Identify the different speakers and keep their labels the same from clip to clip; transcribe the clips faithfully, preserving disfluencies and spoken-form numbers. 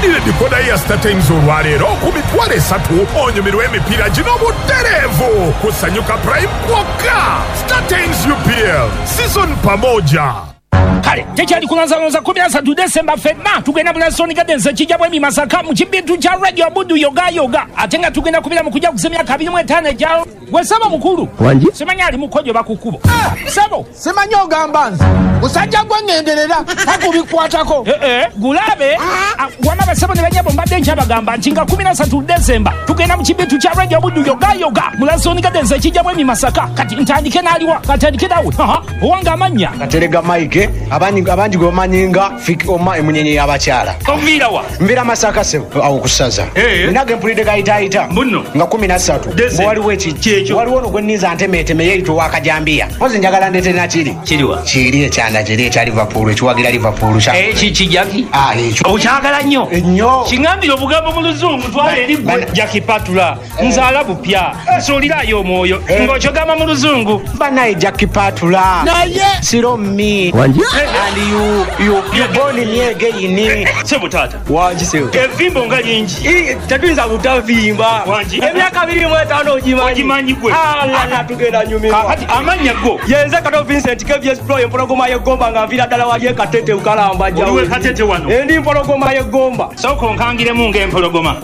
Speaker 1: Weefunire dikoda ya StarTimes olwaleero ku mitwalo esatu onyumirwe emipiira gino butereevu ku Sanyuka Prime kwokka. StarTimes U P L season pamoja.
Speaker 2: Kale tekyali kulanzalonza kumi na ssatu Desemba ffenna tugenda mu Lansdowne Gardens ekijja bwemi Masaka mu kibintu kya Radio Buddu yoga yoga, ate nga tugenda kubira mu kujja kuza emyaka abiri mu etaano egya gwe ssebo mukulu.
Speaker 3: Wangi?
Speaker 2: Simanyi ali mukojo bakukubo. Ssebo.
Speaker 4: Simanyi ogamba nze musajja gwe ŋŋenderera takubikwatako.
Speaker 2: Eh eh, gulabe wama basebo ne banyabo mbadde nkyabagamba nti nga kumi na ssatu Desemba tugenda mu kibintu kya Radio Buddu yoga yoga mu Lansdowne Gardens ekijja bwemi Masaka. Kati ntandike n'aliwa, katandike nawe. Aha, owange amannya.
Speaker 5: Katerega Mike abandi abandi gwe bamanyi nga Fik Oma emunyenye y'abakyala.
Speaker 2: Onviira wa?
Speaker 5: Nviira Masaka ssebo awo ku ssaza. Nina ge mpulidde gayitaayita nga kumi na ssatu waliwo ekijja waliwo ono gwe nninza ntemeeteme yeeyita ow'akajambiya. Mpozi njagala ndeete nakiri.
Speaker 2: Kiriwa?
Speaker 5: Kiri ekyanda kiri ekya Liverpool ekiwagira Liverpool.
Speaker 2: Eki kijaki?
Speaker 5: Ah, ekyo.
Speaker 2: Okyagala nnyo?
Speaker 5: Nnyo.
Speaker 2: Kiŋŋambire obugambo mu Luzungu twala eri ggwe. Jackie Patula nzaala bupya nsuulirayo omwoyo ng'okyogamba mu Luzungu.
Speaker 5: Bannaye Jackie Patula.
Speaker 4: Naye.
Speaker 5: Siro me.
Speaker 3: Wangi?
Speaker 5: And you you you born me again.
Speaker 2: Sebo taata.
Speaker 6: Wangi sebo.
Speaker 2: Evimbo nga lingi.
Speaker 6: Tetuyinza butavimba.
Speaker 2: Wangi.
Speaker 6: Emyaka abiri mu etaano ogimanyi.
Speaker 2: Ogimanyi gwe.
Speaker 6: Alala tugenda nyumirwa.
Speaker 2: Kakati amannya go.
Speaker 6: Yenze Kato Vincent K V S Pro empologoma y'eggomba nga nviira ddala wali e Katete Ukalamba jjawo.
Speaker 2: Oliwe Katete wano.
Speaker 6: Endi mpologoma y'eggomba.
Speaker 2: Sooka onkangiremu ng'empologoma.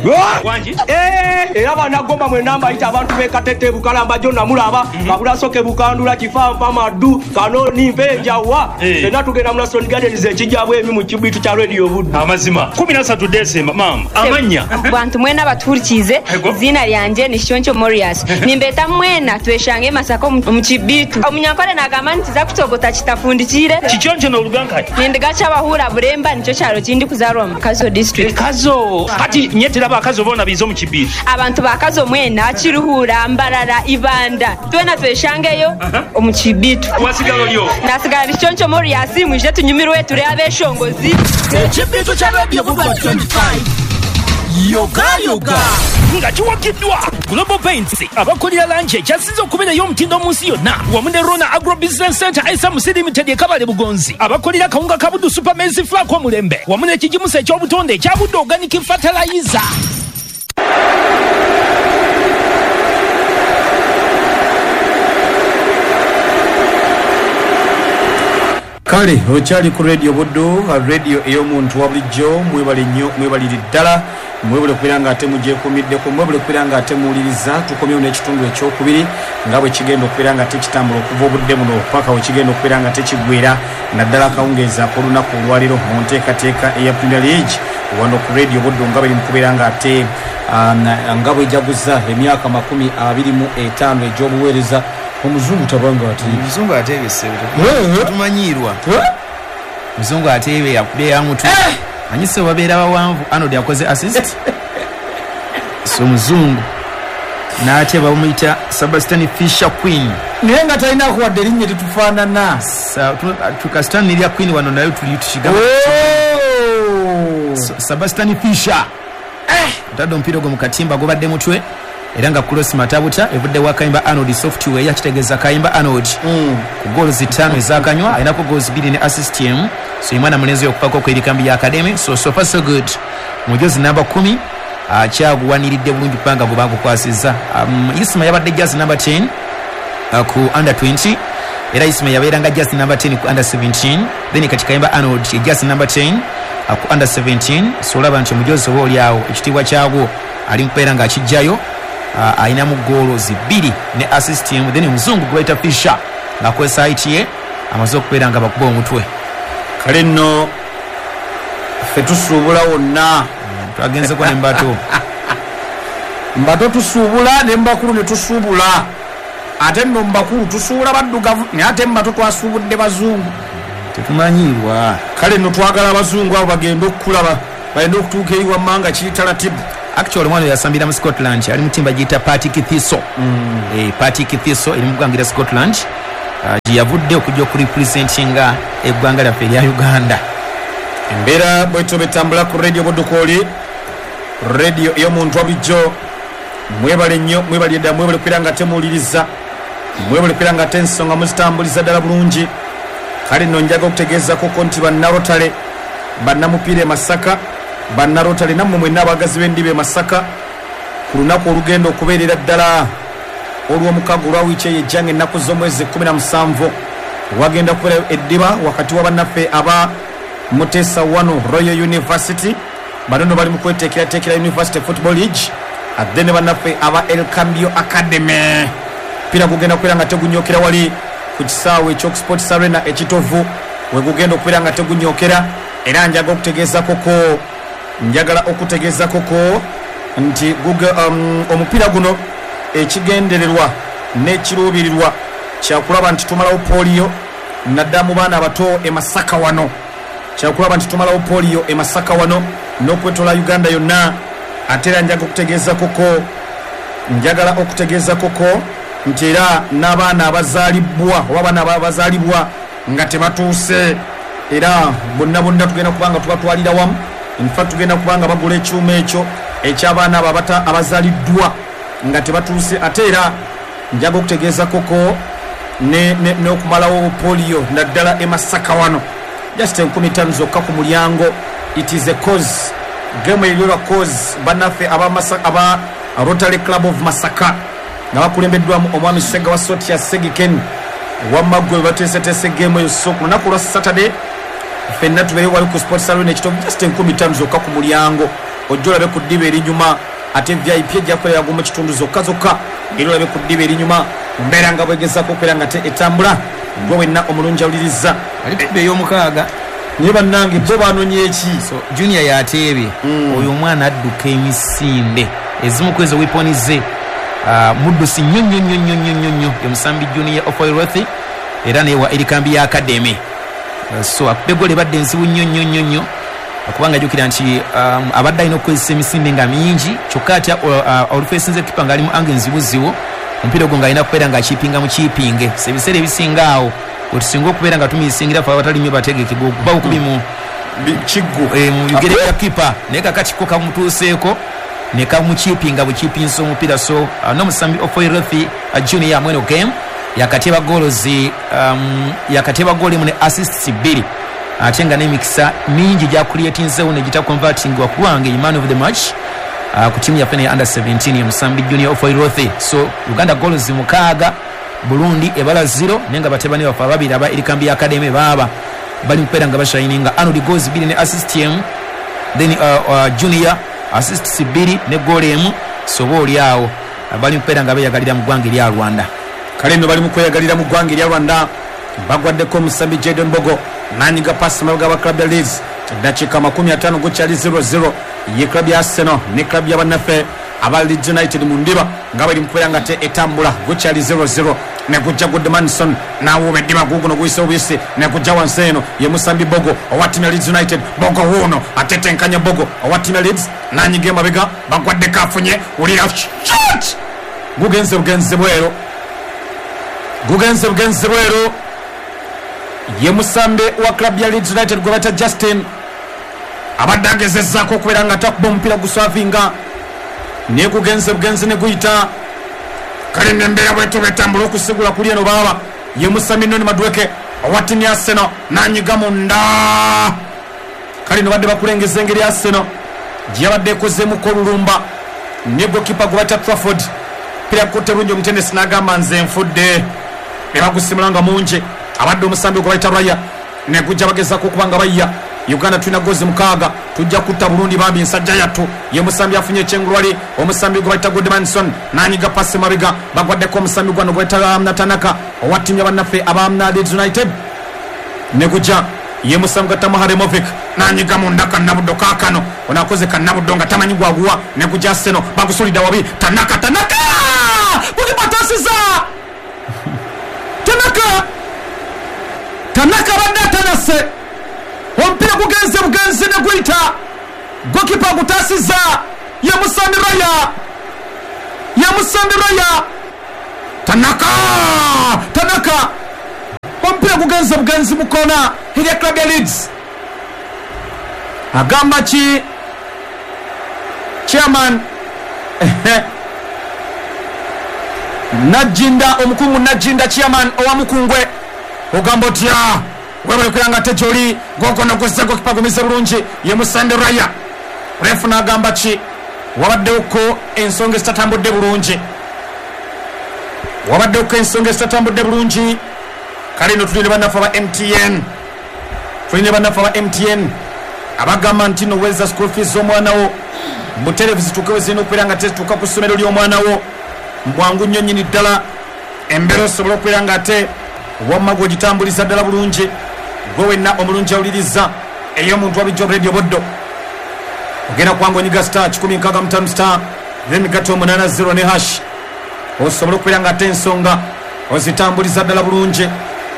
Speaker 2: Wangi.
Speaker 6: Eh, era bannagomba mwenna mbayita abantu b'e Katete Bukalamba gyonna mulaba. Kabulasoke Bukandula Kifampa Maddu Kanoni Mpenjawa. Fenna tugenda mu Lansdowne Gardens ekijja bwemi mu kibitu kya Radio Buddu.
Speaker 2: Amazima. kumi na ssatu Desemba maama. Amannya.
Speaker 7: Bantu mwena batuhurikize izina lyanje ni Shoncho Morias. Nimbeta mwena tweshange Masaka mu kibitu. Omunyankole nagamba nti za kutogota kitafundikire.
Speaker 2: Kichoncho n'oluganka.
Speaker 7: Nindigacha abahura Buremba nicyo kyaro kindi kuzarwa mu Kazo district.
Speaker 2: Kazo. Kati nyetera abakazo bona bizo mu kibitu.
Speaker 7: Abantu bakazo mwena Kiruhura Mbarara Ibanda. Twena tweshangeyo omu kibitu.
Speaker 2: Wasigalo lyo.
Speaker 7: Nasigala Shoncho Morias mwije tunyumirwe ture abeshongozi.
Speaker 4: Ekibitu kya Radio Buddu twenty-five. Yoga yoga.
Speaker 2: Nga kiwagiddwa Global Paints abakolera langi ekyasinze okubeerayo omutindo mu nsi yonna wamu ne Rona Agro Business Center S M C Limited e Kabale Bugonzi abakolera kawunga ka Buddu Super Maize Flour omulembe wamu n'ekigimusa eky'obutonde ekya Buddu Organic Fertilizer.
Speaker 8: Kale okyali ku Radio Buddu, radio ey'omuntu wa bulijjo. Mwebale nnyo, mwebalire ddala, mwebale okubeera nga ate mugyekuumiddeko, mwebale okubeera nga ate muwuliriza. Tukomyewo n'ekitundu ekyokubiri nga bwe kigenda okubeera nga tekitambula okuva obudde buno paka we kigenda okubeera nga tekiggwera, naddala akawungeezi ak'olunaku olwaleero mu nteekateeka eya Premier League wano ku Radio Buddu nga bwe mu kubeera nga ate nga bwejaguza emyaka makumi abiri mu etaano egy'obuweereza. Omuzungu tabanga ate.
Speaker 9: Omuzungu ateebe ssebo. Tumanyirwa. Muzungu ateebe yakubye yamutu. Anyise babeera bawanvu Arnold yakoze assist. So muzungu n'ate bamuyita Sebastian Fisher Queen.
Speaker 8: Naye nga talina kuwadde erinnya tetufaanana.
Speaker 9: Tukasitani n'erya Queen wano nayo tuli tukigamba. Sebastian Fisher. Atadde omupiira ogwo mu katimba gubadde mutwe. Era nga cross matabuta evudde wa Kayimba Arnold software yakitegeeza Kayimba Arnold mm. ku goals ttaano ezakanywa alinako goals bbiri ne assist emu. So imwana mulenzi okupako ku erikambi ya academy. So so far so good. Mujozi namba kumi akyaguwaniridde bulungi kubanga gwe bagukwasizza. um, Isma yabadde jersey number ten uh, ku under twenty. Era Isma yabeeranga jersey number ten ku under seventeen. Then kati Kayimba Arnold jersey number ten uh, ku under seventeen. So olaba nti omujozi oba oli awo ekitiibwa kyagwo ali mukubeera ng'akijjayo. Uh, alinamu goals bbiri ne assist emu. Then omuzungu gwe bayita Fisher ng'akozesa height ye amaze okubeera nga bakuba omutwe.
Speaker 8: Kale nno ffe tusuubula wonna.
Speaker 9: Twagenzeko ne Mbato.
Speaker 8: Mbato tusuubula ne Mbakulu ne tusuubula. Ate nno Mbakulu tusuubula baddugavu naye ate Mbato twasuubudde bazungu.
Speaker 9: Tetumanyirwa.
Speaker 8: Kale nno twagala abazungu abo bagende okukulaba bagende okutuuka eri wamma nga kiri talatibu.
Speaker 9: Actually omwana yasambira mu Scotland ali mutimba giyita Partick Thistle. Mm. Eh, Partick Thistle eri mu ggwanga lya Scotland. Uh, yavudde okujja okurepresentinga eggwanga lyaffe erya Uganda.
Speaker 8: Embeera bwetyo betambula ku Radio Buddu kwoli, radio ey'omuntu wa bulijjo. Mwebale nnyo, mwebale ddala, mwebale okubeera nga temuwuliriza, mwebale okubeera nga ate ensonga muzitambuliza ddala bulungi. Kale nno njaga okutegeezako ko nti bannarotale bannamupiira e Masaka Bannarotale nammwe mwenna abaagazi b'endiba e Masaka ku lunaku olugenda okubeerera ddala olw'omukago olwa wiiki eyo ejjanga ennaku z'omwezi kkumi na musanvu wagenda kubeerayo eddiba wakati wa bannaffe aba Mutesa wano Royal University. Bano nno bali mu kweteekerateekera University Football League, ate ne bannaffe aba El Cambio Academy. Mpira gugenda kubeera nga tegunyokera wali ku kisaawe eky'Okusports Arena ekitovu we gugenda okubeera nga tegunyokera. Era njaga okutegeeza koko njagala okutegeeza koko nti um, omupiira guno ekigendererwa n'ekiruubirirwa kyakulaba nti tumalawo polio naddala mu baana abato e Masaka wano, kyakulaba nti tumalawo polio e Masaka wano n'okwetola Uganda yonna. Ate era njaga okutegeeza koko njagala okutegeeza koko nti era n'abaana abazaalibwa oba abaana abazaalibwa nga tebatuuse era bonna bonna tugenda kubanga tubatwalira wamu. In fact tugenda kubanga bagula ekyuma ekyo eky'abaana abo abazaaliddwa nga tebatuuse. Ate era njaga okutegeeza koko n'okumalawo polio naddala e Masaka wano, just enkumi ttaano zokka ku mulyango. It is a cause game eryolwa cause bannaffe aba Rotary Club of Masaka nga bakulembeddwamu omwami Ssegawa Sotia Segiken wamma ggwe bateeseteese game eyo. So ku lunaku lwa Saturday ffenna tubeere wali ku Sports Arena ekitovu, just enkumi ttaano zokka ku mulyango, ojja olabe ku ddiba erinyuma. Ate V I P ejja kubeera gumu kitundu zokka zokka, era olabe ku ddiba erinyuma mbeera nga bwegezaako okubeera nga te etambula. Gwe wenna omulungi awuliriza
Speaker 9: ali ku ey'omukaaga
Speaker 8: naye bannange bo banonye eki.
Speaker 9: So Junior yateebye mm. Oyo omwana adduka emisinde ezimu ku ezo weapon ze uh, muddusi nnyo nnyo nnyo nnyo nnyo nnyo ye musambi Junior Ofoyrothi era naye wa Erikambi ya Academy. Uh, so akubye goal ebadde enzibu nnyo nnyo nnyo nnyo kubanga jjukira nti um, abadde alina okukozesa emisinde nga mingi, kyokka atya uh, olufeesinze kipa ng'ali mu ange enzibuzibu omupiira ogwo ng'alina kubeera ng'akiipinga mu kiipinge. So ebiseera ebisinga awo wetusinga okubeera nga tumisingira fe abatali nnyo bategeke guba bukubi mu
Speaker 8: kiggo
Speaker 9: mu bigere bya kipa, naye kakati ko kamutuuseeko ne kamukiipinga bukiipinsa omupiira. So uh, n'omusambi Ofoyrothi uh, Junior mweno game yakateba goals um, yakateba goal emu ne assists bbiri, ate nga n'emikisa mingi gyakuliyetinzeewo ne gitaconvertingwa kubanga ye man of the match uh, ku tiimu yaffe ne under seventeen ye musambi Junior Ofoyrothi. So Uganda goals mukaaga, Burundi ebala zero, naye nga batabani baffe ababiri aba Erikambi Academy baaba bali mukubeera nga bashininga. Arnold goals bbiri ne assist emu, then uh, uh, Junior assists bbiri ne goal emu. So oba oli awo bali mukubeera nga beeyagalira mu ggwanga erya Rwanda.
Speaker 8: Kale nno bali mu kweyagalira mu ggwanga erya Rwanda. Bagwaddeko omusambi Jadon Bogo nanyiga pasi mabega wa club ya Leeds. Eddakiika makumi ataano gukyali zero zero ye club ya Arsenal ne club ya bannaffe aba Leeds United mu ndiba nga bali mu kubeera nga te etambula gukyali zero zero. Ne gujja Goodmanson nawuuba eddiba guguno guyise obuyisi ne gujja wansi eno ye musambi Bogo owa ttiimu ya Leeds United. Bogo wuuno atetenkanya Bogo owa ttiimu ya Leeds nanyiga emabega bagwaddeko afunye wulira shot gugenze bugenze bweru gugenze bugenze bweru ye musambi wa club ya Leeds United gwe bayita Justin abadde agezezzaako okubeera nga takuba omupiira guswavinga naye gugenze bugenzi ne guyita. Kale nembeera bwetyo bwetambula okusigula kuli eno baaba ye musambi Noni Madweke owa ttiimu ya Arsenal nanyiga munda. Kale no badde bakulengeza engeri ya Arsenal gye yabadde ekozeemuko olulumba ne gokipa gwe bayita Trafford. Mpira gukutte bulungi omutendesi n'agamba nze nfudde ne bagusimula nga mungi. Abadde omusambi gwe bayita Raya ne gujja bagezaako okuba nga bayiya. Uganda tulina gozi mukaaga tujja kutta Burundi bambi ensajja yattu. Ye musambi afunye ekyengulu wali omusambi gwe bayita Goodmanson nanyiga pasi mabega bagwaddeko omusambi gwano gwe bayita Tanaka owa ttiimu ya bannaffe aba Leeds United ne gujja ye musambi gwa Tamuharemovic nanyiga munda kannabuddo kaakano ono akoze kannabuddo nga tamanyi gwaguwa ne gujja Arsenal bagusulidde wabi Tanaka Tanaka gugipatasiza Tanaka Tanaka abadde atanase omupiira gugenze bugenzi ne guyita gokipa gutasiza ye musambi Raya ye musambi Raya Tanaka Tanaka omupiira gugenze bugenzi mu kona erya club ya Leeds. Agamba ki chairman Najinda omukungu Najinda chairman owa Mukungwe ogamba otya webale kuyanga ate gyoli gokono guzze gokipa gumize bulungi ye musambi Raya Refu n'agamba ki? Wabaddewoko ensonga ezitatambudde bulungi, wabaddewoko ensonga ezitatambudde bulungi. Kale nno tulina bannaffe aba M T N, tulina bannaffe aba M T N abagamba nti no weza school fees z'omwana wo butereevu zituuke we zirina okubeera nga tezituuka ku ssomero ly'omwana wo mbwangu nnyo nnyini ddala. Embeera osobola okubeera nga ate wamma gw'ogitambuliza ddala bulungi, gwe wenna omulungi awuliriza ey'omuntu wabijjo Radio Buddo. Ogenda kubanga onyiga star kikumi nkaaga mu ttaano star then gato omunaana zero ne hash, osobola okubeera nga ate ensonga ozitambuliza ddala bulungi.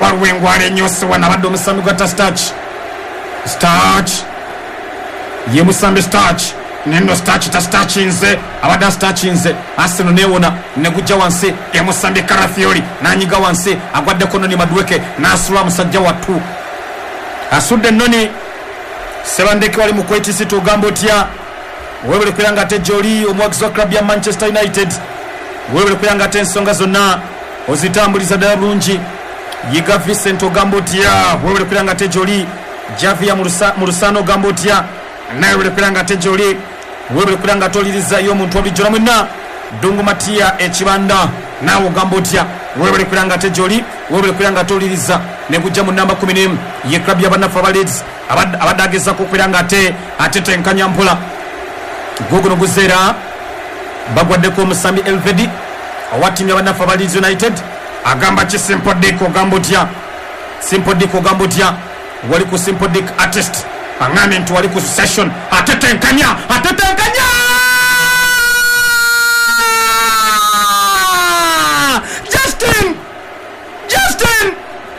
Speaker 8: Waliwo engwala ennyose wano abadde omusambi gwa ta starch starch ye musambi starch neno starch ta starchinze abadde starchinze Arsenal newona negujja wansi emusambi Karafiori nanyiga wansi agwaddeko Noni Madueke n'asula musajja wattu asudde Noni Sebandeke wali mu Kuwait City. Ogamba otya? Weebale kubeera nga ate gy'oli omuwagizi wa club ya Manchester United, weebale kubeera nga ate ensonga zonna ozitambuliza ddala bulungi. Yiga Vincent ogamba otya? Weebale kubeera nga ate gy'oli. Javia mu Lusano ogamba otya? Naye weebale kubeera nga ate gy'oli, weebale kubeera nga toliriza y'omuntu wabulijjo mwenna. Dungu Matia Ekibanda naawe ogamba otya? Weebale kubeera nga ate gy'oli, weebale kubeera nga toliriza. Negujja mu namba kumi n'emu ye club y'abannaffe aba Leeds abadde agezaako okubeera nga ate atetenkanya mpola. Guguno guzeera bagwaddeko omusambi Elvedi owa ttiimu y'abannaffe aba Leeds United. Agamba ki Simple Dick ogamba otya? Simple Dick ogamba otya? Wali ku Simple Dick artist aŋŋambye nti wali ku session atetenkanya atetenkanya Justin Justin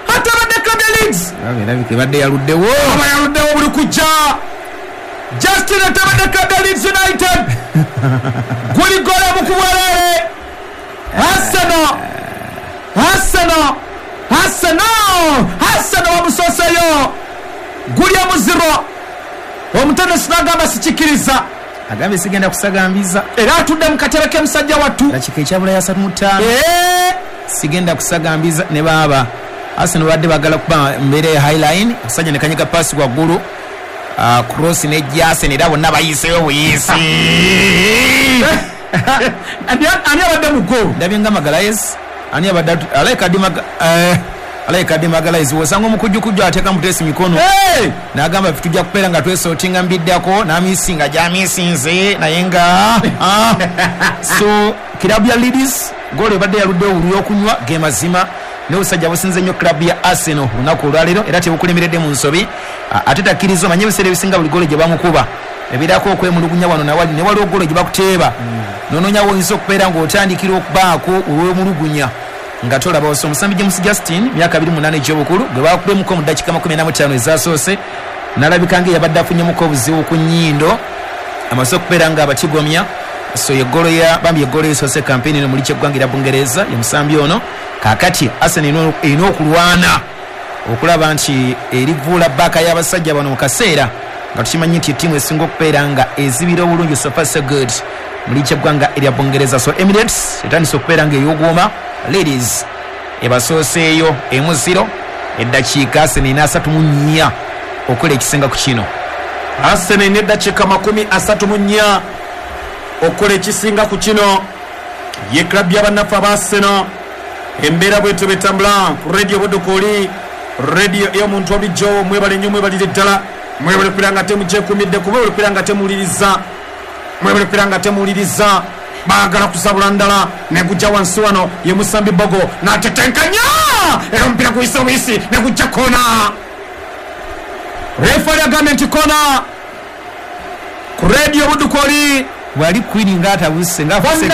Speaker 8: atabadde club ya Leeds
Speaker 9: ebadde yaluddewo
Speaker 8: aba yaluddewo buli kujja. Justin atabadde club ya Leeds United guli gola mu kubwerere. Arsenal Arsenal Arsenal Arsenal wamusoseyo guli amuziro. Omutendesi n'agamba sikikiriza,
Speaker 9: agambye sigenda kusagambiza,
Speaker 8: era atudde mu katebe k'emusajja wattu
Speaker 9: dakika ekyabula ya asatu mu ttaano. Sigenda kusagambiza ne baaba Arsenal badde bagala kuba mbeera ya highline, omusajja ne kanyiga paasi waggulu, cross ne Jason era bonna bayiseewo buyisi.
Speaker 8: Ani abadde mu goal?
Speaker 9: Ndabye nga Magalhaes. Ani abadde alayika di alayika di Magalhaes osanga omukujjukujju ateeka mutesi mikono n'agamba ffe tujja kubeera nga twesootinga mbiddako n'amisinga gy'amisinze naye nga so kirabu ya Leeds goolo ebadde yaluddewo olw'okunywa ge mazima n'obusajja businze nnyo club ya Arsenal olunaku olwaleero era tebukulemeredde mu nsobi. Ate takkiriza omanye ebiseera ebisinga buli goolo gye bamukuba ebeerako okwemulugunya wano nawali ne waliwo goolo gye bakuteeba nonoonyawo oyinza okubeera ng'otandikira okubaako olw'emulugunya nga tolaba. Oso omusambi James Justin myaka abiri mu munaana egy'obukulu gwe bakubemuko mu ddakiika makumi ana mu ttaano ezasoose n'alabika ng'eyabadde afunyemuko obuzibu ku nnyindo amaze okubeera nga abatigomya. So ye goolo ya bambi ye goolo esoose kampeyini eno muli ky'eggwanga erya Bungereza ye musambi ono. Kaakati Arsenal erina okulwana okulaba nti erivuula bbaaka y'abasajja bano mu kaseera nga tukimanyi nti ettiimu esinga okubeera nga ezibira obulungi so far so good muli ky'eggwanga erya Bungereza. So Emirates etandise okubeera nga ey'oguuma Ladies ebasooseeyo emuziro eddakiika Arsenal erina asatu mu nnya okukola ekisinga ku kino.
Speaker 8: Arsenal erina eddakiika makumi asatu mu nnya okukola ekisinga ku kino. Ye club y'abannaffe aba Arsenal embeera bwetyo betambula ku Radio Buddo kwoli radio ey'omuntu wabulijjo. Mwebale nnyo mwebalire ddala, mwebale kubeera nga temugyekuumidde kuba mwebale kubeera nga temuwuliriza, mwebale kubeera nga temuwuliriza. Baagala kusabula ndala negujja wansi wano ye musambi Bogo n'atetenkanya era omupiira guyise obuyisi negujja kona. Refari agambye nti kona ku Radio Buddo kwoli.
Speaker 9: Wali Queen ng'atabuse ng'afuse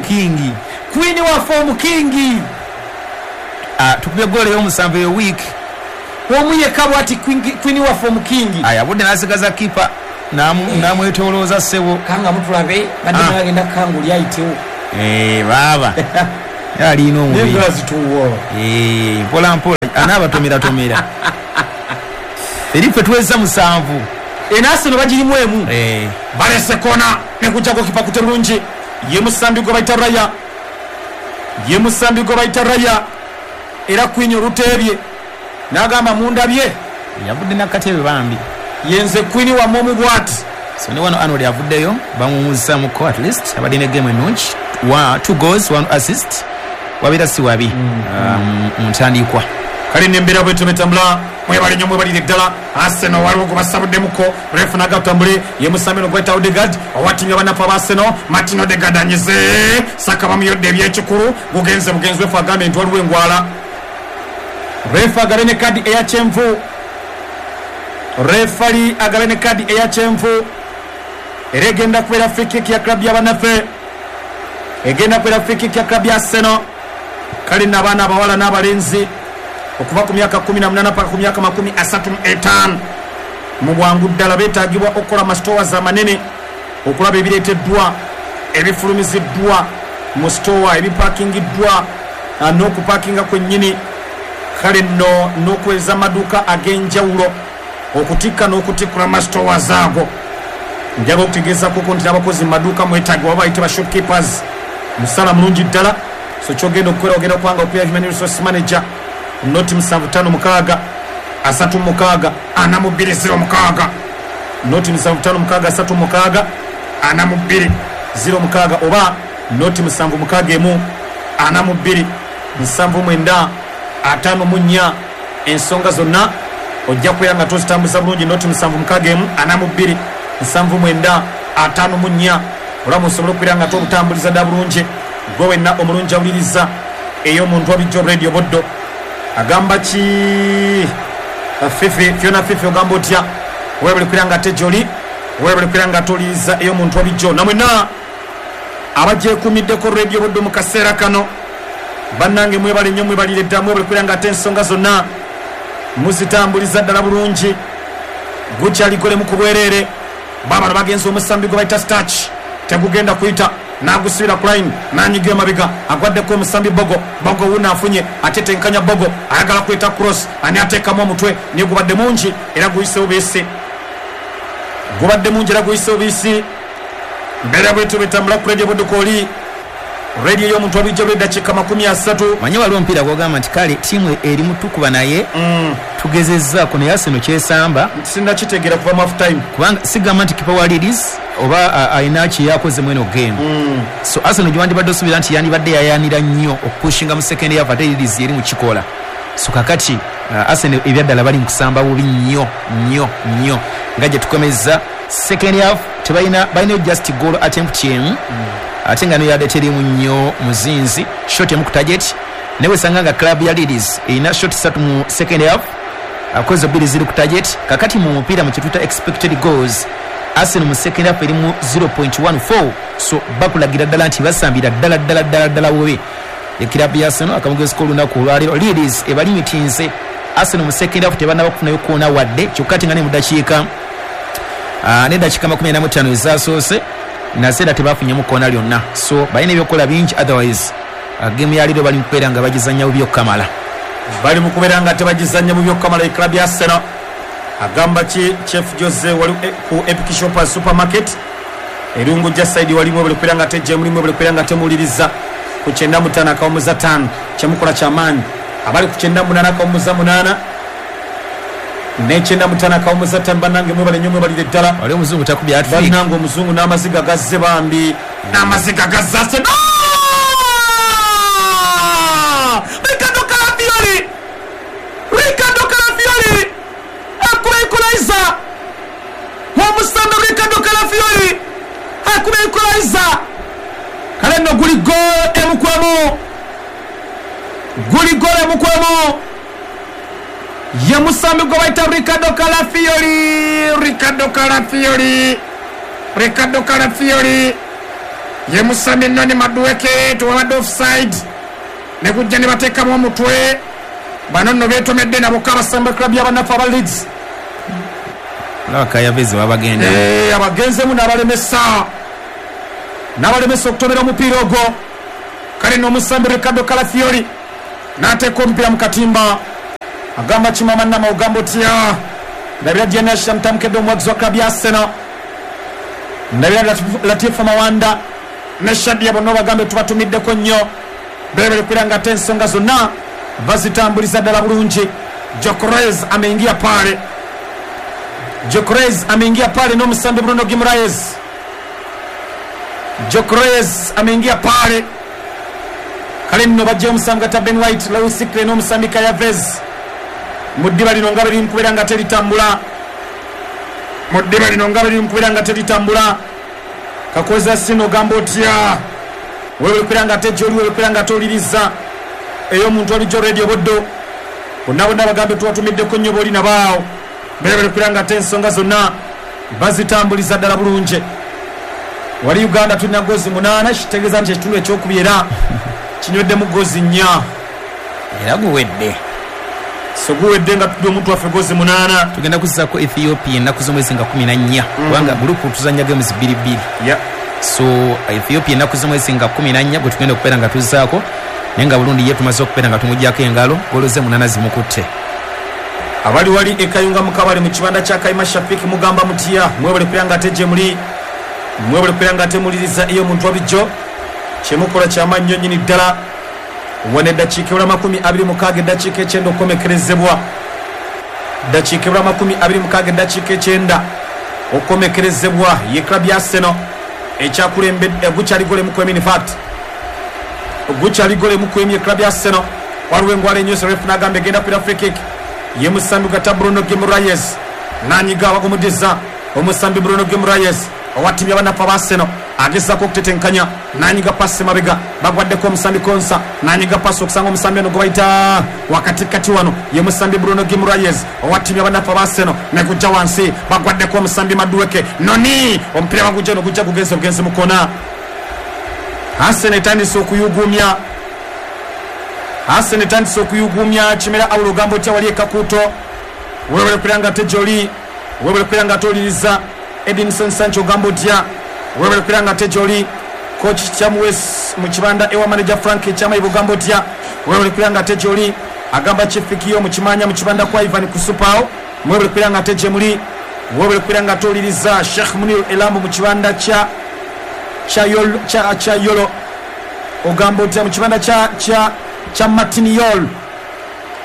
Speaker 9: kingi
Speaker 8: Queen waffe omukingi
Speaker 9: tukubye goolo ey'omusanvu eyo week
Speaker 8: omu yekka bw'ati Queen waffe omukingi
Speaker 9: aya budde n'asigaza kipa n'amwetoolooza ssebo
Speaker 8: kanga mutulabe badde bagenda kanga oli ayitewo
Speaker 9: baaba alina omubiri mpola mpola anaabatomeratomera eri ffe tuweza musanvu
Speaker 8: eno Arsenal bagirimu emu balese kona nekujjako kipa kute bulungi ye musambi gwe bayita Raya ye musambi gwe bayita Raya era Queen oluteebye n'agamba mundabye
Speaker 9: yavudde nakatebe bambi
Speaker 8: yenze Queen wammwe omu bw'ati
Speaker 9: So ne wano Arnold avuddeyo bamuwummuzaamuko, at least abadde ne game ennungi, two goals, one assist, wabeera si wabi mu ntandikwa.
Speaker 8: Kale nembeera bwetyo betambula. Mwebale nnyo, mwebalire ddala. Arsenal waliwo gwe basabuddemuko, ref nagatambule ye musambi gweta Odegaard owa ttiimu y'abanafu aba Arsenal. Martin Odegaard anyize, Saka bamuyodde ebyekikulu, gugenze bugenzi. Ref agambye nti waliwo engwala. Ref agabe ne kadi eya kyenvu, refali agabe ne kadi eya kyenvu, era egenda kubeera free kick ya club y'abanafe, egenda kubeera free kick ya club ya Arsenal. Kale n'abaana abawala n'abalenzi okuva ku myaka kumi na munaana paka ku myaka makumi asatu mu etaano mu bwangu ddala beetaagibwa okukola amasitowazi amanene okulaba ebireeteddwa, ebifulumiziddwa mu sitowa, ebipakingiddwa n'okupakinga kwennyini. Kale nno n'okuweereza amaduuka ag'enjawulo okutikka n'okutikkula amasitowazi ago. Njagala okutegeezaako nti n'abakozi mu maduuka mwetaagibwa, bayite ba shopkeepers, musala mulungi ddala. So kyogenda okukola, ogenda kubanga okuya human resource manager noti musanvu ttaano mukaaga asatu mukaaga ana mu bbiri ziro mukaaga, noti musanvu ttaano mukaaga asatu mukaaga ana mu bbiri ziro mukaaga, oba noti musanvu mukaaga emu ana mu bbiri nsanvu mwenda ataano mu nnya. Ensonga zonna ojja kubeera nga tozitambuza bulungi. Noti musanvu mukaaga emu ana mu bbiri nsanvu mwenda ataano mu nnya, olamu osobole okubeera nga tobutambuliza dda bulungi. Gwe wenna omulungi awuliriza ey'omuntu wabijjo Radio Buddo, agamba ki Fifi Fiona Fifi, ogamba otya? Webale kubeera nga ate gyoli, webale kubeera nga toliiriza ey'omuntu wabijjo. Namwenna abagyekuumiddeko Radio Buddo mu kaseera kano, bannange mwebale nnyo, mwebalire ddala, mwebale kubeera nga ate ensonga zonna muzitambuliza ddala bulungi. Gukyaligolemu ku bwereere, babano bagenza omusambi gwe bayita Starch, tegugenda kuyita, nagusubira ku line, nanyiga emabega, agwaddeko omusambi Bogo. Bogo wuno afunye, ate tenkanya Bogo, ayagala kuyita cross, ani ateekamu omutwe, naye gubadde mungi era guyisewo biisi, gubadde mungi era guyisewo biisi. Mbeera bwetyo betambula ku Radio Buddo kooli, radio y'omuntu wabijja lw'eddakiika makumi asatu.
Speaker 9: Manyi waliwo omupiira gwogamba nti kale ttiimu eri mutukuba naye
Speaker 8: mm.
Speaker 9: tugezezzaako, naye Arsenal kyesamba
Speaker 8: sinnakitegeera kuva mu half time,
Speaker 9: kubanga sigamba nti kipa wa Leeds oba alina kye yakoze mu eno game.
Speaker 8: mm.
Speaker 9: So Arsenal gyewandibadde osuubira nti yandibadde yayaanira nnyo okupushinga mu second half, ate Leeds eri mu kikola. So kakati uh, Arsenal ebyaddala bali mu kusamba bubi nnyo nnyo nnyo, nga gye tukomezza second half tebalina, balina just goal attempt emu,
Speaker 8: mm.
Speaker 9: ate nga noyadde terimu nnyo muzinzi, shot emu ku target. Naye wesanga nga club ya Leeds erina shot ssatu mu second half, akoze bbiri ziri ku target. Kakati mu mupiira mu kye tuyita expected goals, Arsenal mu second half eri mu zero point one four, so bakulagira ddala nti basambira ddala ddala ddala ddala bubi ekirabu ya Arsenal. Akamugezi k'olunaku olwaleero, Leeds ebalimitinze Arsenal mu second half tebannaba kufunayo koona wadde, kyokka ate nga ne mu ddakiika n'eddakiika makumi ana mu ttaano ezaasoose naseera tebafunyemu koona lyonna. So balina ebyokukola bingi, otherwise game ya leero bali mu kubeera nga bagizannya bubi okukamala,
Speaker 8: bali mu kubeera nga tebagizannya bubi okukamala. Eclub ya Arsenal agamba ki Chef Jose wali ku Epic Shoppers Supermarket erungu ja side, walimu buli kubeera nga tejje mulimu buli kubeera nga temuwuliriza ku kyenda mu ttaano akawumuza ttaano, kyemukola kyamaanyi. Abali ku kyenda munaana akawumuza munaana n'ekyenda mu ttaano akawumuza ttaano, bannange mwebale nnyo, mwebalire ddala.
Speaker 9: Wali omuzungu takubye hat-trick,
Speaker 8: bannange omuzungu n'amaziga gazze bambi, n'amaziga gazze Arsenal. Riccardo Calafiori, Riccardo Calafiori akuba equalizer, omusambi Riccardo Calafiori akuba equalizer. Kale nno guli goal emu ku emu, guli goal emu ku emu, ye musambi gwe bayita Riccardo Calafiori, Riccardo Calafiori, Riccardo Calafiori ye musambi Noni Madueke, tewabadde offside, ne kujja ne bateekamu omutwe. Bano nno beetomedde nabo kabasamba club y'abanafu aba Leeds.
Speaker 9: Kayavezi babagenda
Speaker 8: eh, abagenzemu n'abalemesa, n'abalemesa okutomera omupiira ogwo. Kale n'omusambi Riccardo Calafiori n'ateeka omupiira mu katimba. Agamba kimama nama ogamba otya? Ndabira Diana Mtamkedde omuwagizi wa club ya Arsenal, ndabira Latifa Mawanda ne Shadia bonna bagambe tubatumiddeko nnyo, bebere kubeera nga ate ensonga zonna bazitambuliza ddala bulungi. Gyökeres ameingia pale, Gyökeres ameingia pale n'omusambi Bruno Guimaraes. Gyökeres ameingia pale. Kale nno bajja omusambi gata Ben White, Lewis Skelly n'omusambi Kayavez. Mu ddiba lino nga biri mukubeera nga teritambula. Mu ddiba lino nga biri mukubeera nga teritambula. Kakoza sino gamba otya. Wewe kubeera nga tejoli, wewe kubeera nga toliriza. Eyo omuntu ali Radio Buddu. Bonna bonna bagambe tuwatumiddeko nnyo b'oli nabaawo. Beebale kubeera nga ate ensonga zonna bazitambuliza ddala bulungi. Wali Uganda tulina gozi munaana, kitegeeza nti ekitundu ekyokubiri era kinyweddemu gozi nnya.
Speaker 9: Era guwedde.
Speaker 8: So guwedde nga tudde omuntu waffe gozi munaana.
Speaker 9: Tugenda kuzzaako Ethiopia ennaku z'omwezi nga kumi na nnya. Kubanga gurupu tuzannya games bbiri bbiri.
Speaker 8: Yeah.
Speaker 9: So Ethiopia ennaku z'omwezi nga kumi na nnya gwe tugenda okubeera nga tuzzaako. Naye nga Burundi ye tumaze okubeera nga tumuggyako engalo, goolo ze munaana zimukutte.
Speaker 8: Abali wali ekayunga mukabale mu kibanda kya Kaima Shafik mugamba mutya, mwebale kubeera nga ate gye muli, mwebale kubeera nga ate muliriza eyo omuntu wabijjo. Kyemukola kyamaanyi nnyo nnyini ddala. Wano eddakiika ebula makumi abiri mukaaga eddakiika ekyenda okukomekerezebwa. Eddakiika ebula makumi abiri mukaaga eddakiika ekyenda okukomekerezebwa. Ye club ya Arsenal ekyakulembedde gukyali gole mu kwemi, in fact gukyali gole mu kwemi club ya Arsenal. Waliwo engwala enywesa ref n'agamba egenda kuira free kick. Ye musambi gata Bruno Guimaraes nanyiga bagumudiza omusambi Bruno Guimaraes owatimya banafa ba Arsenal agezaako okutetenkanya nanyiga pasi mabega bagwaddeko omusambi Konsa nanyiga pasi okusanga omusambi ono gwe bayita wakatikati wano ye musambi Bruno Guimaraes owatimya banafa ba Arsenal negujja wansi bagwaddeko omusambi Madueke noni omupiira bagujja no gujja gugenze bugenzi mukona. Arsenal etandise okuyugumya. Arsenal etandise okuyugumya. Kimera awulo ogamba otya wali ekakuuto. Weebale kubeera nga ate gy'oli, weebale kubeera nga toliriza. Edinson Sancho ogamba otya, weebale kubeera nga ate gy'oli. Coach Chamuwes mu kibanda ewa manager Frank Kyamayiba ogamba otya, weebale kubeera nga ate gy'oli. Agamba Kifikiyo mu kimanya mu kibanda kwa Ivan Kusupaawo, mwebale kubeera nga ate gye muli, weebale kubeera nga toliriza. Sheikh Munir Elambu mu kibanda kya kya Yolo, kya kya Yolo ogamba otya mu kibanda kya kya kya Martiniol.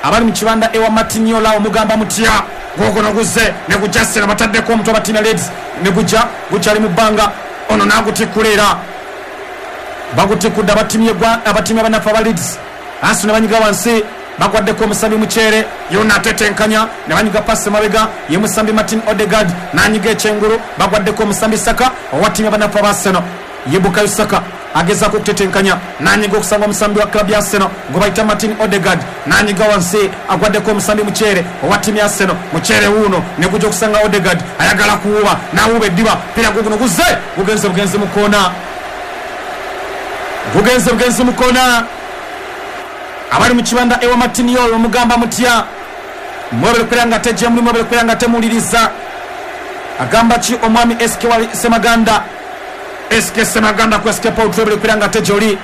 Speaker 8: Abali mu kibanda ewa Martiniol awo mugamba mutya, gogono guze ne gujja bataddeko omutwe abatina Leeds ne gujja gukyali mu bbanga ono n'agutikkula era bagutikudde abatimye gwa abatimye abanafu aba Leeds. Arsenal banyiga wansi bagwaddeko omusambi Mukyere yonna atetenkanya ne banyiga pasi mabega ye musambi Martin Odegaard n'anyiga ekyengulu bagwaddeko omusambi Saka owatimye abanafu aba Arsenal ye Bukayo Saka agezaako okutetenkanya n'anyiga okusanga omusambi wa club ya Arsenal gwe bayita Martin Odegaard n'anyiga wansi agwaddeko omusambi Mukyere owa ttiimu ya Arsenal. Mukyere wuuno ne gujja okusanga Odegaard ayagala kuwuba n'awuba eddiba pira guguno guze gugenze bugenzi mu koona, gugenze bugenzi mu koona. Abali mu kibanda ewa Martiniol omugamba mutya, mwebale kubeera nga tejja muli, mwebale kubeera nga temuwuliriza. Agamba ki omwami S K wali Semaganda, S K Semaganda ku S K Paul, twebale kubeera nga tejoli,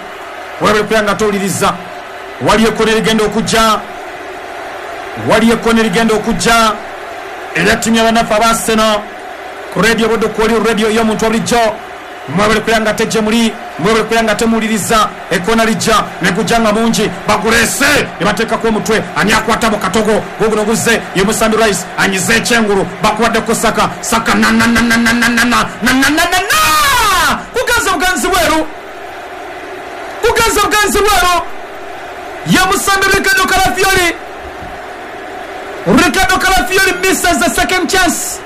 Speaker 8: webale kubeera nga towuliriza. Waliyo ekkona erigenda okujja, waliyo ekkona erigenda okujja erya ttiimu y'abanafu aba Arsenal ku Radio Buddu, kwoli radio y'omuntu wabulijjo. Mwebale kubeera nga tejje muli, mwebale kubeera nga temuwuliriza. Ekkona lijja ne gujja nga mungi baguleese ne bateekako omutwe ani akwata mu katogo guguno guzze ye musambi Rice anyize ekyengulu bakuwaddeko Saka Saka na na na na na na na na na na na na kugenze bugenzi bweru, kugenze bugenzi bweru ye musambi Riccardo Calafiori. Riccardo Calafiori misses the second chance.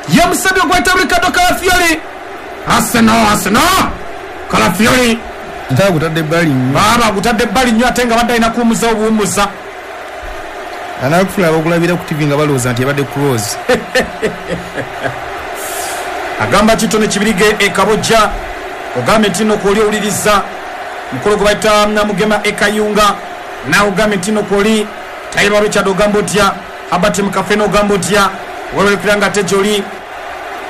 Speaker 8: Ye musambi ogweta Riccardo Calafiori. Arsenal, Arsenal Calafiori
Speaker 3: ntaa gutadde ebbali nnyo.
Speaker 8: Baaba gutadde ebbali nnyo ate nga badde alina kuwummuza obuwummuza.
Speaker 3: Anakufula abakulabira ku T V nga balowooza nti ebadde close.
Speaker 8: Agamba Kitone Kibirige e Kabojja ogambye nti nno kwoli owuliriza mukolo gwe bayita Namugema e Kayunga, naawe ogambye nti nno kwoli Tayiba Richard ogamba otya, Herbert Mukafena ogamba otya, weebale kubeera nga ate gy'oli.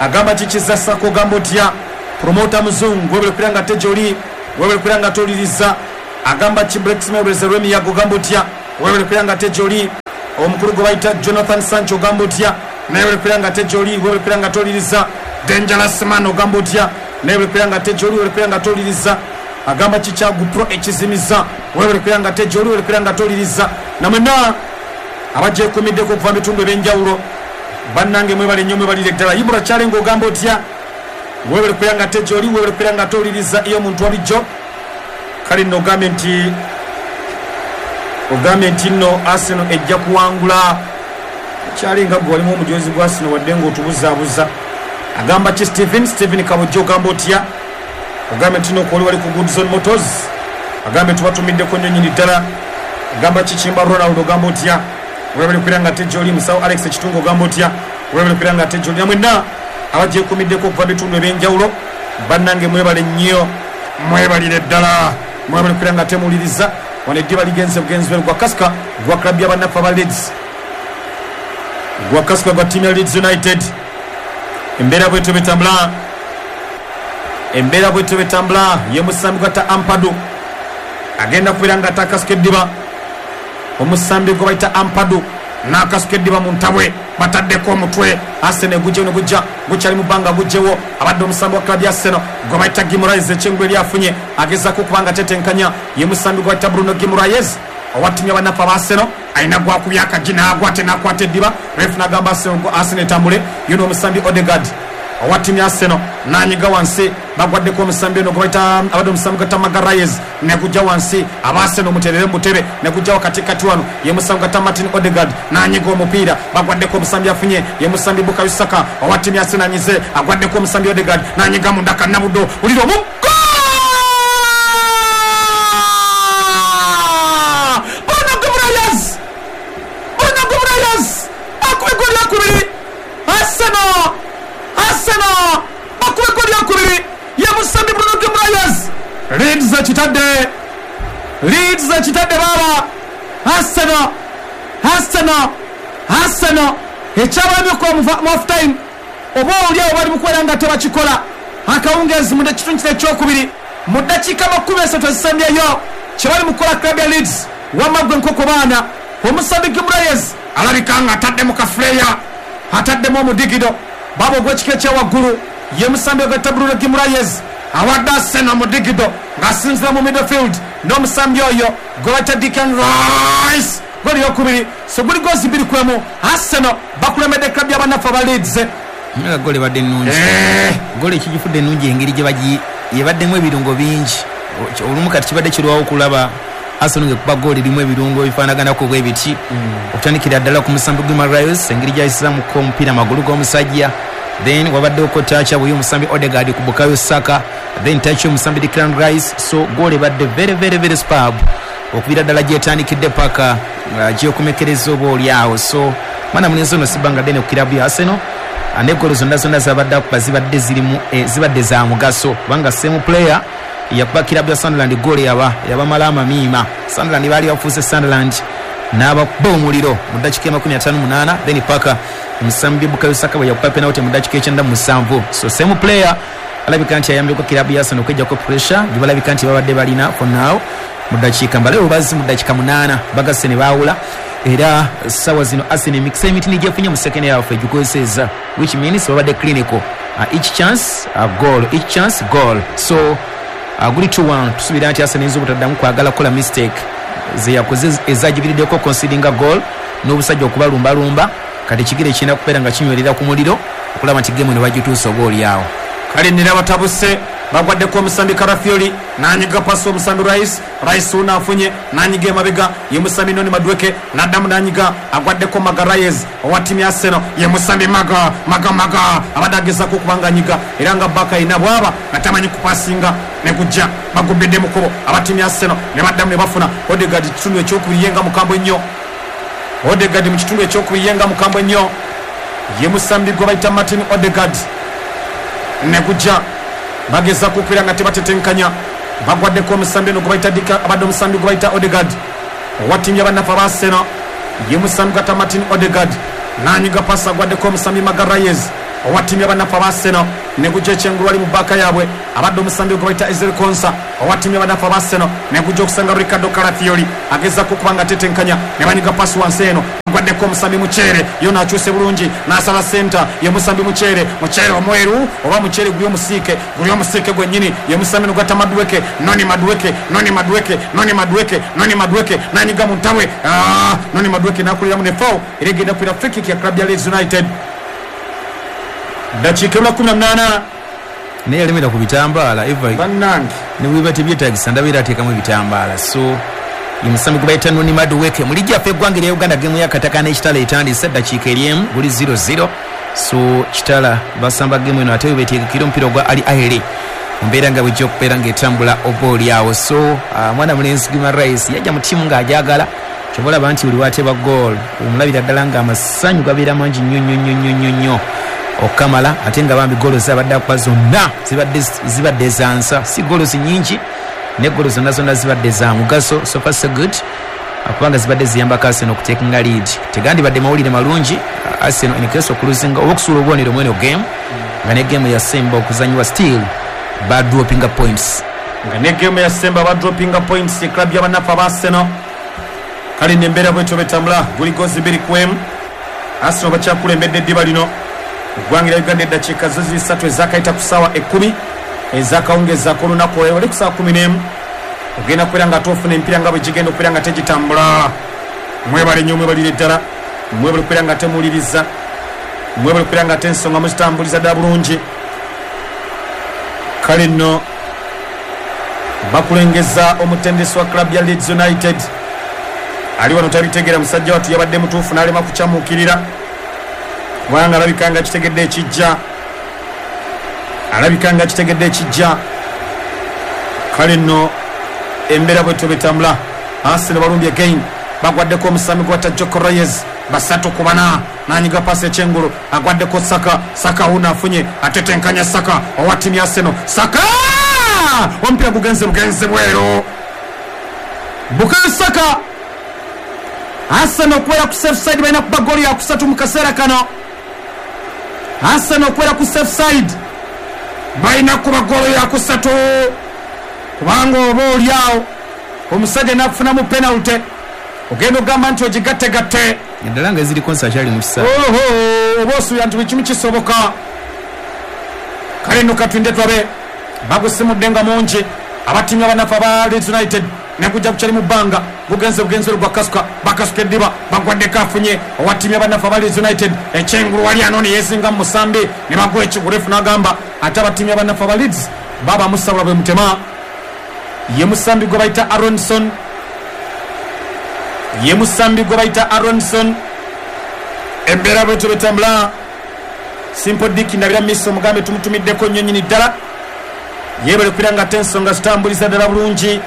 Speaker 8: Agamba Kikiza Sako ogamba otya, Promota Muzungu weebale kubeera nga ate gy'oli, weebale kubeera nga towuliriza. Agamba ki Brexmebeze Rwemiyaga ogamba otya, weebale kubeera nga ate gy'oli. Omukulu gwe bayita Jonathan Sancho ogamba otya, naye weebale kubeera nga ate gy'oli, weebale kubeera nga towuliriza. Dangerous Man ogamba otya, naye weebale kubeera nga ate gy'oli, weebale kubeera nga towuliriza. Agamba Kikyagu Pro ekizimiza, weebale kubeera nga ate gy'oli, weebale kubeera nga towuliriza. Namwenna abagyekuumiddeko okuva mu bitundu ebyenjawulo Bannange mwebale nnyo, mwebalire ddala. Ibula kyale ng'ogamba otya? Webale kubeera nga ate gy'oli, webale kubeera nga ate owuliriza ey'omuntu wa bulijjo. Kale nno ogambye nti ogambye nti nno Arsenal ejja kuwangula. Kyali nga gwe walimu omujozi gwa Arsenal wadde ng'otubuzaabuza. Agamba ki Steven? Steven Kabujjo ogamba otya? Ogambye nti nno kwoli wali ku Good Zone Motors. Agambye tubatumiddeko nnyo nnyini ddala. Agamba ki Kimba Ronald ogamba otya? Webale kubeera nga ate gy'oli. Musawo Alex Kitungo ogamba otya? Webale kubeera nga ate gy'oli. Namwenna abagyekuumiddeko okuva bitundu ebyenjawulo, bannange mwebale nnyo, mwebalire ddala, mwebale kubeera nga temuwuliriza. Wano eddiba ligenze bugenzi gwa Kasika gwa club y'abannaffe aba Leeds, gwa Kasika gwa ttiimu ya Leeds United. Embeera bwetyo betambula, embeera bwetyo betambula. Ye musambi gwata Ampadu agenda kubeera nga ate akasuka eddiba. Omusambi gwe bayita Ampadu n'akasuka eddiba mu ntabwe, bataddeko omutwe. Arsenal gujja ne gujja gukyali mu bbanga gujjewo. Abadde omusambi wa club ya Arsenal gwe bayita Guimaraes, ekyengulu eri afunye agezaako okuba nga tetenkanya. Ye musambi gwe bayita Bruno Guimaraes owa ttiimu y'abannaffe aba Arsenal, alina gwakubya akagi n'agwa ate n'akwata eddiba. Ref n'agamba Arsenal etambule. Ye n'omusambi Odegaard owa ttiimu ya Arsenal n'anyiga wansi, bagwaddeko omusambi ono gwe bayita abadde omusambi gwata Magalhaes ne gujja wansi. Aba Arsenal muterere mutere ne gujja wakatikati wano. Ye musambi gwata Martin Odegaard n'anyiga omupiira, bagwaddeko omusambi afunye. Ye musambi Bukayo Saka owa ttiimu ya Arsenal anyize, agwaddeko omusambi Odegaard n'anyiga munda Kannabuddo. Wulira omu Bruno Guimaraes, Bruno Guimaraes akuba eggooli lyakubiri. Arsenal, Arsenal bakuba eggooli lyakubiri. Ye musambi Bruno Guimaraes. Leeds ekitadde, Leeds ekitadde baaba. Arsenal, Arsenal, Arsenal ekyabalamye okuba mu half time, oba oli awo bali mu kubeera nga tebakikola. Akawungeezi mu kitundu kino ekyokubiri mu ddakiika makumi esatu ezisembyeyo kye bali mu kukola club ya Leeds. Wamma gwe nkoko baana, omusambi Guimaraes alabika nga ataddemu kafuleya, ataddemu omudigido baaba ogw'ekika ekyawaggulu. Ye musambi ogwetta Bruno Guimaraes awadde Arsenal omudigido ng'asinzira mu midfield n'omusambi oyo gwe bayita Declan Rice. Goli yokubiri, so guli gozi bbiri ku emu. Arsenal bakulembedde club y'abannaffe aba Leeds.
Speaker 9: Nga goli badde nnungi, goli ekigifudde ennungi engeri gye bagi yebaddemu ebirungo bingi. Olumu kati kibadde kirwawo okulaba Arsenal ng'ekuba goli erimu ebirungo ebifaanaganako bwe biti. Okutandikira ddala ku musambi Guimaraes engeri gy'ayisizaamuko omupiira amagulu g'omusajja, then wabaddeko tacha bwe omusambi Odegaard ku Bukayo Saka, then tacha omusambi Declan Rice. So goli ebadde very very very superb okubira ddala gyetandikidde paka gyokomekereza oba oli awo. So mwana mulenzi ono sibanga ddene ku kirabu ya Arsenal, ne golo zonna zonna zabadde akuba zibadde zirimu zibadde za mugaso, kubanga same player yakuba kirabu ya Sunderland goli yaba yabamala amamiima. Sunderland baali bafuuse Sunderland n'abakuba omuliro mu ddakiika makumi ataano munaana, then paka omusambi Bukayo Saka bwe yakuba penalty mu ddakiika ekyenda mu musanvu. So same player alabika nti ayambyeko kirabu ya Arsenal okweggyako pressure gye balabika nti babadde balina for now. Mu ddakiika mbale obazi mu ddakiika munaana bagasse ne baawula. Era sawa zino Arsenal emikisa emitini gyefunye mu second half egikozesezza, which means babadde clinical. Uh, each chance a goal, each chance goal. So uh, guli two one. Tusuubira nti Arsenal eyinza obutaddamu kwagala kukola mistake ze yakoze ezagibiriddeko conceding a goal n'obusajja okubalumbalumba. Kati ekigere kirina kubeera nga kinywerera ku muliro okulaba nti game eno bagituusa oba oli awo.
Speaker 8: Kale nera batabuse, bagwaddeko omusambi Karafioli n'anyiga pasi omusambi Rice. Rice ono afunye n'anyiga emabega. Ye musambi Noni Madueke n'addamu n'anyiga, agwaddeko Magalhaes owa ttiimu ya Arsenal. Ye musambi Maga Maga Maga abadde agezaako okuba nga anyiga, era nga baka ayina bw'aba nga tamanyi kupasinga ne gujja. Bagubbidde mu kkubo aba ttiimu ya Arsenal ne baddamu ne bafuna. Odegaard kitundu ekyokubiri ye nga mukambwe nnyo. Odegaard mu kitundu ekyokubiri ye nga mukambwe nnyo. Ye musambi gwe bayita Martin Odegaard ne gujja, bagezaako okubeera nga tebatetenkanya. Bagwaddeko omusambi ono gwe bayita Dika, abadde omusambi gwe bayita Odegaard owa ttiimu y'abannaffe aba Arsenal. Ye musambi gwata Martin Odegaard n'anyiga pasi, agwaddeko omusambi Magalhaes owa ttiimu y'abannaffe aba Arsenal ne gujja ekyengulu ali mu bbaaka yaabwe. Abadde omusambi gwe bayita Ezri Konsa owa ttiimu y'abannaffe aba Arsenal ne gujja okusanga Ricardo Calafiori agezaako okuba nga atetenkanya ne banyiga pasi wansi eno, agwaddeko omusambi Mukyere, yo n'akyuse bulungi n'asala senta. Ye musambi Mukyere, Mukyere omweru oba Mukyere guli omusiike, guli omusiike gwennyini. Ye musambi nogwata Madueke, Noni Madueke, Noni Madueke, Noni Madueke, Noni Madueke n'anyiga mu ntabwe. Noni Madueke n'akuliramu ne foul era egenda kubeera free kick ya club ya Leeds United. Dakiika ebula kumi na munaana.
Speaker 9: Naye yalemera ku bitambaala eva
Speaker 8: bannange
Speaker 9: ne bweba tebyetaagisa ndabeera ateekamu ebitambaala. So ye musambi gwe bayita Noni Madueke mu liigi yaffe eggwanga erya Uganda gemu y'akataka n'Ekitala etandise eddakiika eryemu guli zero zero. So Kitala basamba gemu eno ate beteekekera omupiira ogwa Ali Ahly mbeera nga bwejja okubeera ng'etambula oba oli awo. So uh, mwana mulenzi Guimaraes yajja mu ttiimu ng'agyagala, kyova olaba nti buli wateeba goal omulabira ddala ng'amasanyu gabeera mangi nnyo nnyo nnyo nnyo nnyo nnyo okukamala, ate nga bambi goolo zabadde akuba zonna zibadde zibadde za nsa, si goolo nnyingi ne goolo zonna zonna zibadde za mugaso. So far so good, kubanga zibadde ziyambako Arsenal okuteekinga lead. Tegandibadde mawulire malungi Arsenal in case okuluzinga oba okusuula obubonero mweno game nga ne game yasemba okuzanyiwa still badropinga points,
Speaker 8: nga ne game yasemba badropinga points e club y'abanafu aba Arsenal. Kale nembeera bwetyo betambula guli gozi bbiri ku emu. Arsenal bakyakulembedde eddiba lino. Eggwanga lya Uganda eddakiika zo ziri ssatu ezakayita ku ssaawa ekkumi ezakawungeezi ak'olunaku olwaleero, oli ku ssaawa kumi n'emu ogenda kubeera nga ate ofuna emipiira nga bwe gigenda okubeera nga tegitambula. Mwebale nnyo, mwebalire ddala, mwebale okubeera nga temuwuliriza, mwebale okubeera nga ate ensonga muzitambuliza ddala bulungi. Kale nno bakulengeza omutendesi wa club ya Leeds United ali wano tabitegeera, musajja wattu yabadde mutuufu n'alema kukyamuukirira kubanga alabika nga kitegedde ekijja, alabika nga kitegedde ekijja. Kale nno embeera bwetyo betambula. Arsenal balumbye again, bagwaddeko omusambi gwata Joko Reyes basatu ku bana, n'anyiga paasi ekyengulu agwaddeko Saka. Saka wuno afunye atetenkanya Saka owa ttiimu ya Arsenal. Saka omupiira gugenze bugenze bweru. Bukayo Saka. Arsenal okubeera ku safe side balina kuba goolo ya kusatu mu kaseera kano. Arsenal okubeera ku safe side balina kuba goolo ya kusatu, kubanga oba oli awo omusajja n'akufunamu penalty ogenda ogamba nti ogigattegatte
Speaker 9: eddala nga eziri konsa akyali mu kisaawe.
Speaker 8: Oho, oba osuubira nti buli kimu kisoboka. Kale nno katulinde tulabe. Bagusimudde nga mungi abattiimu abanafu aba Leeds United negujja kukyali mu bbanga, gugenze bugenze gwa kasuka, bakasuka eddiba bagwaddeko afunye owa ttiimu y'abanafu aba Leeds United ekyengulu wali anooni yeezinga mu musambi ne bagwa ekigurefu n'agamba ate abattiimu y'abanafu aba Leeds baba musabula bwe mutema. Ye musambi gwe bayita Aronson, ye musambi gwe bayita Aronson. Embeera bwetyo betambula. Simple Dick ndabira miso omugambe tumutumiddeko nnyo nnyini ddala, yeebale kubeera nga ate ensonga zitambuliza ddala bulungi.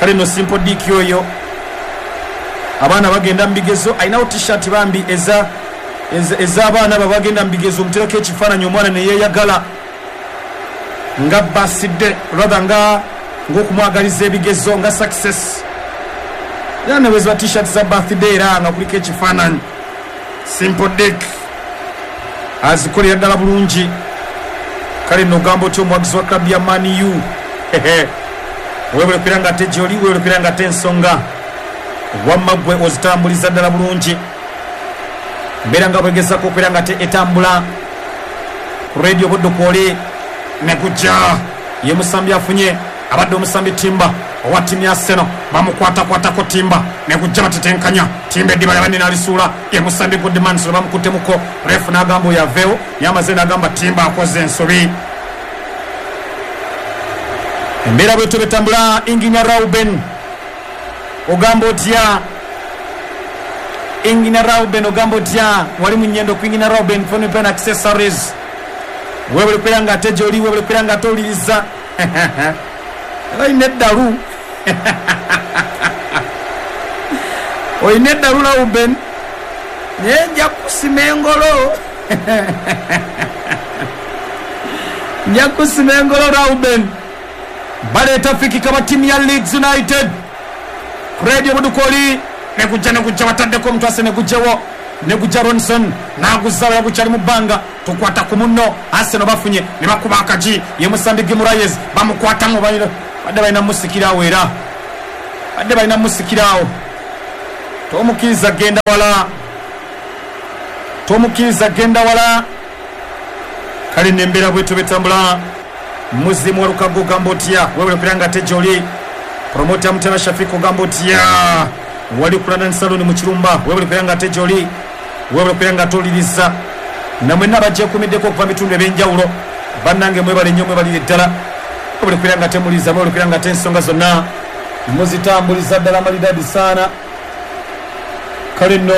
Speaker 8: Kale nno Simple Dick oyo abaana bagenda mu bigezo, alinawo t-shirt bambi eza ez'abaana abo bagenda mu bigezo, omuterako ekifaananyi omwana ne yeeyagala nga basidde rather nga ng'okumwagaliza ebigezo nga success. Era ne bwe t-shirt za birthday era nga kuliko ekifaananyi. Simple Dick azikolera ddala bulungi. Kale nno ogamba otya omuwagizi wa club ya Man U, weebale kubeera nga ate gy'oli, weebale kubeera nga ate ensonga wamma ggwe ozitambuliza ddala bulungi. Mbeera nga bwegezaako okubeera nga ate etambula ku radio Buddu kwoli ne gujja. Ye musambi afunye abadde omusambi Timba owa ttiimu ya Arsenal, bamukwatakwatako Timba ne gujja batetenkanya Timba eddiba lyabadde n'alisuula. Ye musambi Goodmanson bamukuttemuko, refu n'agamba oyo aveewo, yamaze n'agamba Timba akoze ensobi. Embeera bwetyo betambula. Inginya Rauben ogamba otya? Ingina Rauben ogamba otya? Wali mu nnyendo ku Ingina Rauben phone pen accessories, weebale kubeera nga ate gy'oli, weebale kubeera nga ate owuliriza. Olina eddalu, olina eddalu Rauben, naye nja kusima engolo, nja kusima engolo Rauben. Baleeta fikika ba ttiimu ya Leeds United ku Radio Budukoli negujja negujja bataddeko omutwase negujjawo negujja Ronson n'aguzaawo yagukyali mu bbanga tukwata ku munno. Arsenal bafunye ne bakuba akagi, ye musambi Guimaraes bamukwatamu, badde balina musikiraawo, era badde balina musikiraawo. Tomukkiriza genda wala, tomukkiriza genda wala. Kale nembeera bwetyo betambula. Muzimu Walukago ogamba otya? Weebale kubeera nga ate gy'oli. Promota Mutera Shafik ogamba otya? Wali ku London Salon mu Kirumba, weebale kubeera nga ate gy'oli, weebale kubeera nga ate owuliriza. Namwenna bagyekuumiddeko okuva mu bitundu ebyenjawulo. Bannange mwebale nnyo, mwebalire ddala. Mwebale kubeera nga temuliza, mwebale kubeera nga te ensonga zonna muzitambuliza ddala malidadi saana. Kale nno